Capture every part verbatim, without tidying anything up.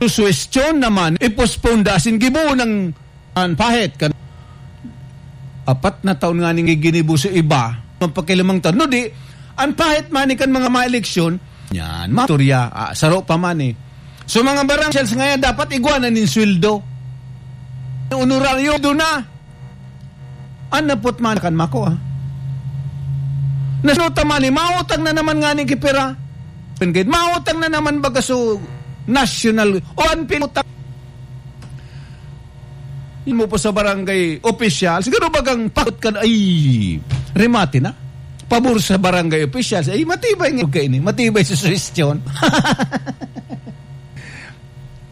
Susuwestiyon naman, i-postpone da asin gibohon an pahit kan apat na taon nganing ginibo sa iba, magpakilimang taon. No, di, an pahit man kan mga maeleksyon, yan, maturya, ah, saro pa man eh. So, mga barangay officials ngayon, dapat igwa na nin sweldo. Honoraryo, doon na. An napot man kan mako, ah. Nasuta man eh, mautang na naman nga ni kipira. Mautang na naman baga so national, o an pinutang. Yun mo po sa barangay opisyal, siguro bagang pakot ka na, ay, remate na. Pabor sa barangay opisyal, ay, matibay nga kaini, matibay sa suwestiyon.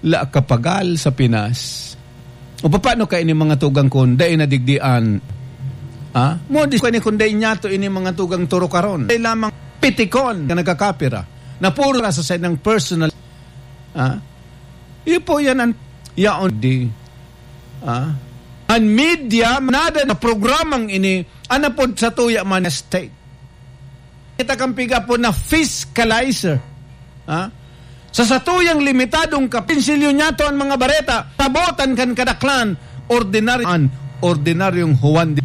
La kapagal sa Pinas. O paano kaini mga tugang kun dai nadigdian? Ha? Mo di kaini kun dai niyato ini mga tugang turukaron. Dai lamang pitikon ka nagkakapira. Na puro sa sa ng personal. Ha? Iyo po yan ang yaon di. Ha? Ang media, nada na programang ini, anapod sa tuya man state. Kita kang piga po na fiscalizer. Ha? Sa satuyang limitadong kapinsilyo niyato ang mga bareta, tabotan kan kadaklan, ordinaryo, an ordinaryong Juan de,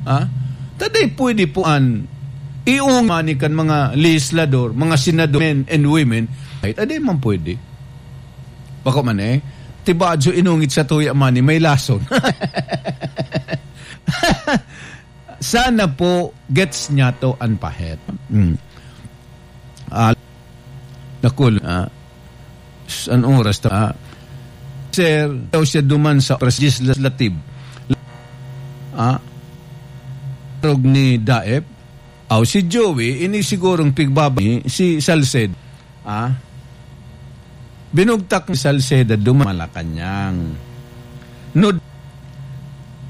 ha? Taday pwede po an iung mani kan mga legislador, mga senador, men and women, ay taday man pwede. Bako man eh, tibadyo inungit sa tuya mani, may lason. Sana po gets niyato an pahit. Mm. Ah, nakul, ah, s-, an oras ta, ah, sir, daw siya duman sa oras legislative. Ah, rog ni Daep, aw si Joey, ini sigurong pigbaba ni si Salceda. Ah, binugtak ni Salceda duman Malacañang. No,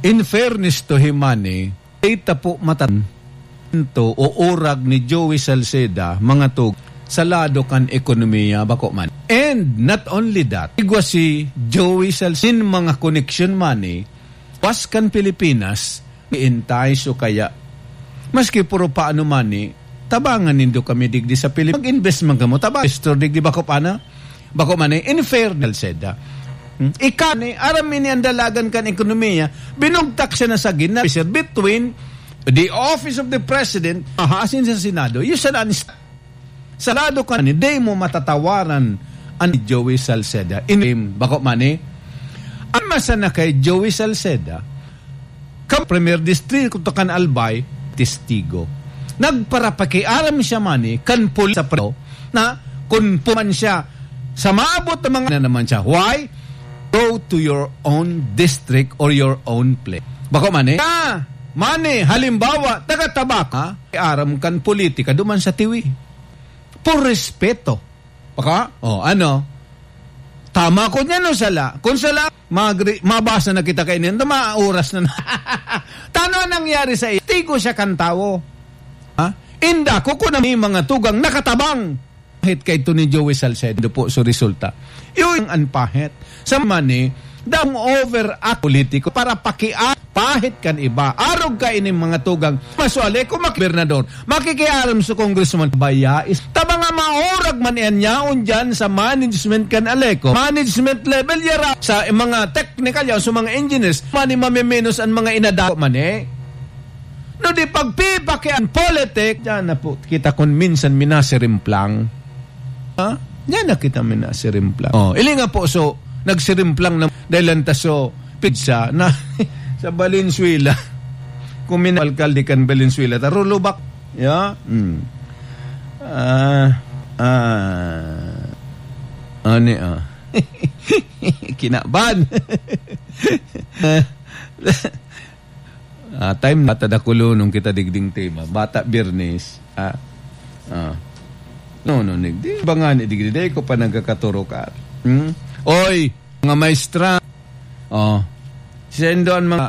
in fairness to him, mani, data po matan to o urag ni Joey Salceda, mga tug, sa lado kan ekonomiya, bako man. And not only that, igwa si Joey Salceda, sin mga koneksyon mani, pas kan Pilipinas, iintay so kaya. Maski puro paano mani, tabangan nindo kami digdi sa Pilipinas. Mag-invest man kamo, tabang investor digdi, bako pa na? Bako man eh, in fairness, Salceda. Hmm? Ika ni, aram ini ang dalagan kan ekonomiya, binugtak siya na sa gina, between the office of the president, ahasin sa Senado, yun siya na, sa lado ka ni, di mo matatawaran an Joey Salceda. In, bako man eh, ang masana kay Joey Salceda, kan Premier Distrito kan Albay, testigo. Nagparapakiaram siya mani kan pulis sa pre-, na kun puman siya sa maabot na mga na naman siya. Why? Go to your own district or your own place. Bako mani? Ah, mani, halimbawa, taga Tabaco, ha? Aram kan politika, duman sa tiwi. Por respeto. Baka? O, ano? Tama ko niya, no, sala. Kung sala, magri-, mabasa na kita kainin. Ito, maoras na na. Tano ang nangyari sa iyo? Tigo siya kan tawo. Ha? Inda ko kung may mga tugang nakatabang. Kahit kay ito ni Joey Salcedo po, so resulta. Yun ang anpahit. Sa mani, daw over at politiko para pakia-, pahit kan iba. Arog ka ining mga tugang. Masuali kung makibernador. Makikiaram sa congressman, baya is, ta mga maurag man yan yaon dyan sa management kan Aleco. Management level, yara sa mga technical yan, sa mga engineers, mani mamiminos ang mga inadako man eh. No di pagpipaki ang politik, dyan na po, kita kun minsan minasirimplang. Ha? Dyan na kita minasirimplang. Oh, ili nga po, so, nagsirimplang na dahil lang ta so, pizza na sa Valenzuela. Kung min-, alkalde kan Valenzuela, ta rulubak. Ya? Hmm. Ah, ah. Ani, ah. Kinaban. Ah, time na ta dakulon nung kita digding tema. Bata Biyernes. Ah. Ah. No, no, nig-, di ba nga ni digdi, di ko pa nagkakaturok, ah. Hmm? Oy! Mga maestra. Oh. Sendo an mga,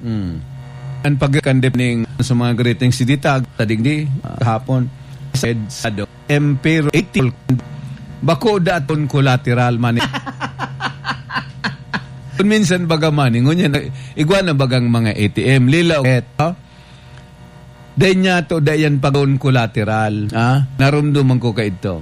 hmm. An pagkandip ning sa mga greetings si Ditag, sa digdi, ah, kahapon. Said, sado, Empero, eighty, bako daton collateral money. Kung minsan baga money, ngunyan, igwa na bagang mga A T M, lilaw, eto. Dai niya to, dai yan pag-on collateral. Ha? Narumduman ko ka ito.